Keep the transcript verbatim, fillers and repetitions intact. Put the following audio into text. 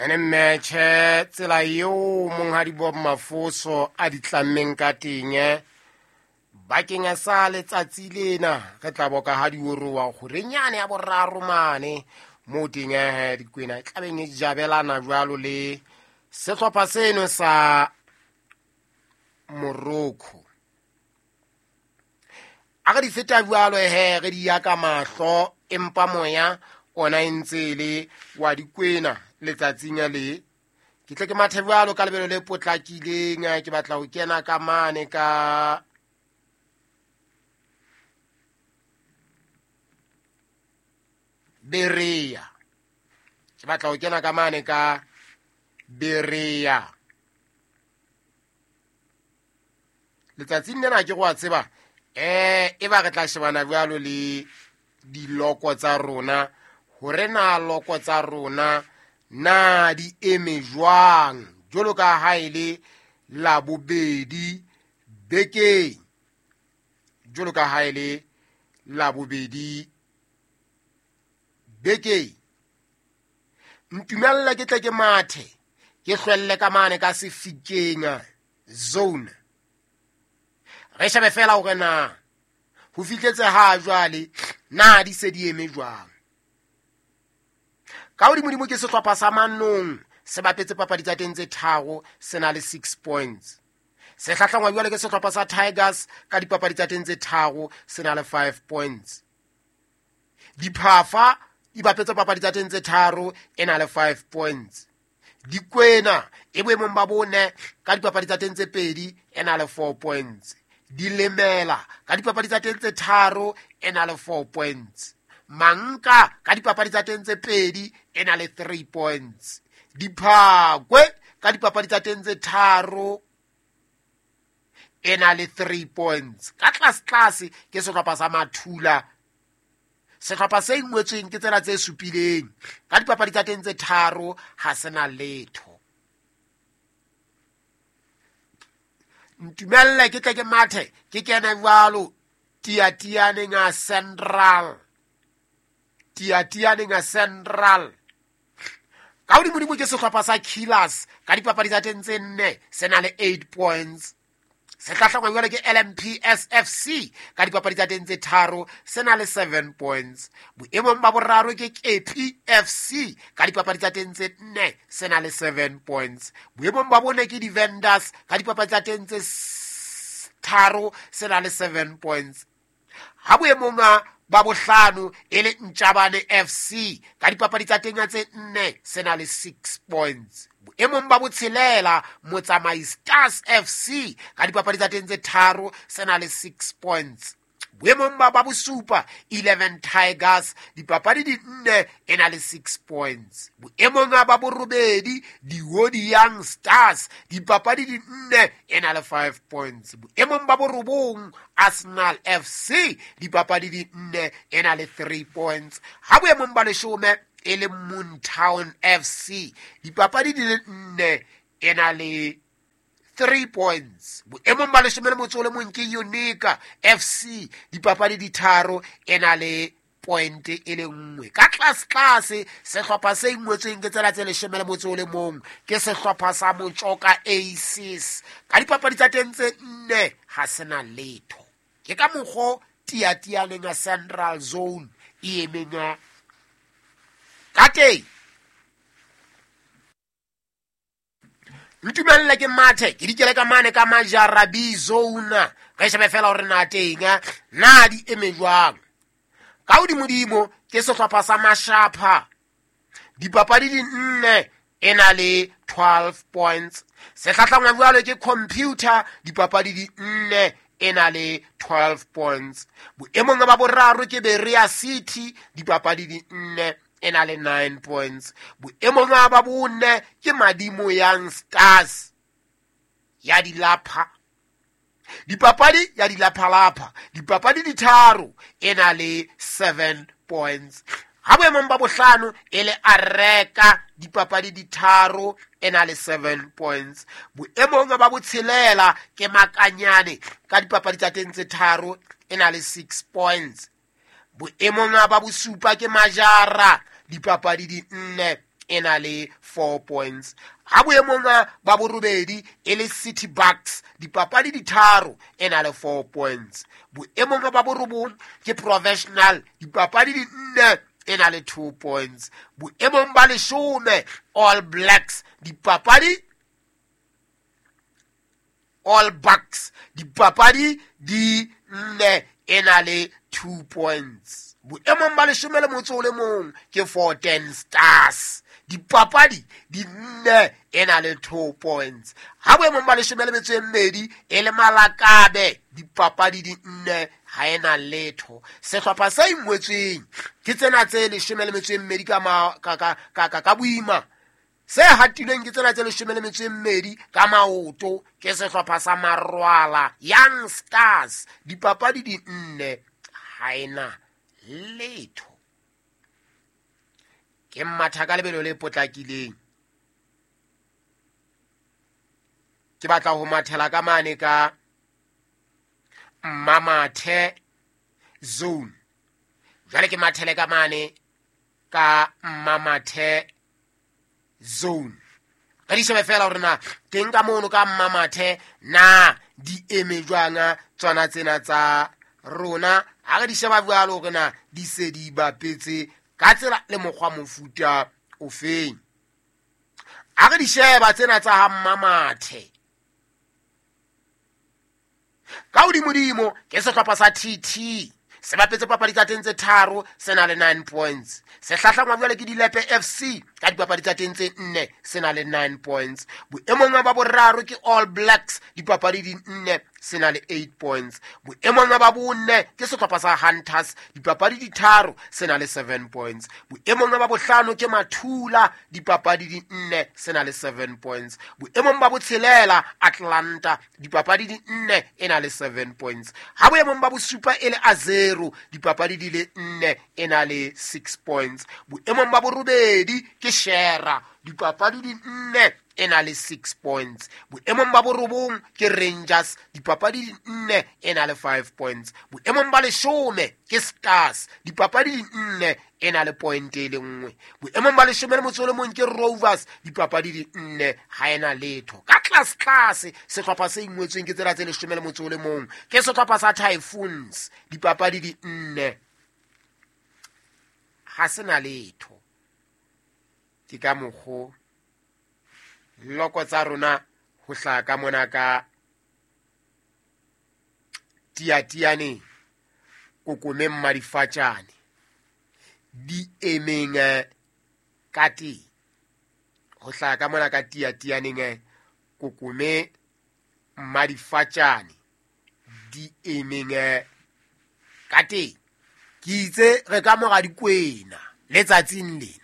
Ene mmetjhe tsela eo monghadi Bob Mafoso a di tlammeng ka teng bakeng sa letsatsi lena re tla boka ha diorowa kgorenyane ya boraro mane moo teng eh dikwena e tlabeng e jabelana jwalo le sehlopha seno sa Morocco. A re di feta jwalo he re di ya ka mahlo empa moya ona e ntse e le wa dikwena letsatsing le. Ke tle ke mathe jwalo ka lebelo le potlakileng, ke batla ho kena ka mane ka Berea. Ke batla ho kena ka mane ka Berea. Letsatsing lena ke go a tseba eh e ba re tla shebana jwalo le diloko tsa rona hore na loko tsa rona na di eme jwang jwalo ka ha e le Labobedi bekeng, jwalo ka ha e le Labobedi bekeng. Ntumelle ke tle ke mathe ke hlwelle ka mane ka Sefikeng zone. Re shebe fela hore na ho fihletse ha jwale na di se di eme jwang. Ka hodimodimo ke sehlopha sa Manong se bapetse papadi tsa teng tse tharo se na le six points. Se hlahlangwa jwale ke sehlopha sa Tigers ka dipapadi tsa teng tse tharo se na le five points. Diphafa di bapetse papadi tsa teng tse tharo e na le five points. Dikwena e boemong ba bone ka dipapadi tsa teng tse pedi e na le four points. Dilemela ka dipapadi tsa teng tse tharo e na le four points. Manka ka dipapadi tsa teng tse pedi e na le three points. Diphakwe ka dipapadi tsa teng tse tharo e na le three points. Ka tlase tlase ke sehlopha sa Mathula, sehlopha se ingwetsweng ke tsena tse supileng ka dipapadi tsa teng tse tharo ha se na letho. Ntumelle ke tle ke mathe ke kene jwalo Tiatianeng a Central. Tiatianeng a Central. Ka hodimodimo ke sehlopha sa Killers ka dipapadi tsa teng tse nne se na le eight points. Se hlahlangwa jwale ke L M P S F C ka dipapadi tsa teng tse tharo se na le seven points. Boemong ba boraro ke K P F C ka dipapadi tsa teng tse nne se na le seven points. Boemong ba bone ke di-Vendors ka dipapadi tsa teng tse tharo se na le seven points. Ha boemong ba bohlano e le Ntjabane F C ka dipapadi tsa teng tse nne se na le six points. Boemong ba botshelela Motsamai Stars F C ka dipapadi tsa teng tse tharo se na le six points. Boemong ba ba bosupa eleven Tigers dipapadi di nne e na le six points. Boemong ba borobedi Diodi Young Stars dipapadi di nne e na le five points. Boemong ba borobong Arsenal F C dipapadi di nne e na le three points. Ha boemong ba leshome e le Moontown F C dipapadi di le nne e na le three points. Boemong ba leshome le motso o le mong ke Unica F C dipapadi di tharo e na le point e le nngwe. Ka tlase tlase sehlopha se ingwetsweng ke tsela tse leshome le motso o le mong ke sehlopha sa Motjoka Aces ka dipapadi tsa teng tse nne ha se na letho. Ke ka mokgo Tiatianeng a Central Zone e emeng ka teng. Ntumelle ke mathe ke dikele ka mane ka Majarabi zone re shebe fela hore na teng na di eme jwang. Ka hodimodimo ke sehlopha sa Mashapha dipapadi di nne e na le twelve points. Se hlahlangwa jwalo ke Computer dipapadi di nne e na le twelve points. Boemong ba boraro ke Berea City dipapadi di nne e na le nine points. Boemong ba bone ke Madimo Young Stars ya dilapha dipapadi ya dilaphalapha dipapadi di tharo e na le seven points. Ha boemong ba bohlano e le Areka dipapadi di tharo e na le seven points. Boemong ba botshelela ke Makanyane ka dipapadi tsa teng tse tharo e na le six points. Boemong ba bosupa ke Majara dipapadi di nne e na le four points. Ha boemong ba borobedi e le City Bucks, dipapadi di tharo e na le four points. Boemong ba borobong ke Professional, dipapadi di nne e na le two points. Boemong ba leshome All Blacks, dipapadi All Bucks, dipapadi di nne e na le two points. Boemong ba leshome le motso o le mong ke four ten Stars, dipapadi di nne e na le two points. Ha boemong ba leshome le metso e mmedi e le Malakabe, dipapadi di nne ha e na letho. Sehlopha se ingwetsweng ke tsena tse leshome le metso e mmedi ka ka ka ka ka boima, se hatilweng ke tsena tse leshome le metso e mmedi ka maoto ke sehlopha sa Marwala Young Stars, dipapadi di nne ha e na letho. Ke matha ka lebelo le potlakileng, ke batla ho mathela ka mane ka Mmamathe zone. Jwale ke mathele ka mane ka Mmamathe zone. Re di shebe fela hore na teng ka mono ka Mmamathe na di eme jwang tsona tsena tsa rona. Ha re di sheba jwalo hore na di se di bapetse ka tsela le mokgwa mofuta ofeng. Ha re di sheba tsena tsa ha Mmamathe, ka hodimodimo ke sehlopha sa T T, se bapetse papadi tsa teng tse tharo, se na le nine points. Se hlahlangwa jwale ke Dilepe F C ka dipapadi tsa teng tse nne, se na le nine points. Boemong ba boraro ke All Blacks, dipapadi di nne, se na le eight points. Boemong ba bonne ke sehlopha sa Hunters, dipapadi di tharo, se na le seven points. Boemong ba bohlano ke Mathula, dipapadi di nne, se na le seven points. Boemong ba botshelela Atlanta, dipapadi di nne, e na le seven points. Ha boemong ba bosupa e le Azero, dipapadi di le nne, e na le six points. Boemong ba borobedi ke Shera, dipapadi di nne, e na le six points. Boemong ba borobong ke Rangers, dipapadi di nne, e na le five points. Boemong ba leshome ke Stars, dipapadi di nne, e na le point e le nngwe. Boemong ba leshome le motso o le mong ke Rovers, dipapadi di nne, ha e na letho. Ka tlase tlase sehlopha se ingwetsweng ke tsela tse leshome le motso o le mong ke sehlopha sa Typhoons, dipapadi di nne, ha se na letho. Ke ka mokgo loko tsa rona ho hlaha ka mona ka Tiatiane kokomeng madifatjane di emeng ka teng. Ho hlaha ka mona ka Tiatianeng kokome madifatjane di emeng ka teng. Ke itse re ka mora dikwena letsatsing lena.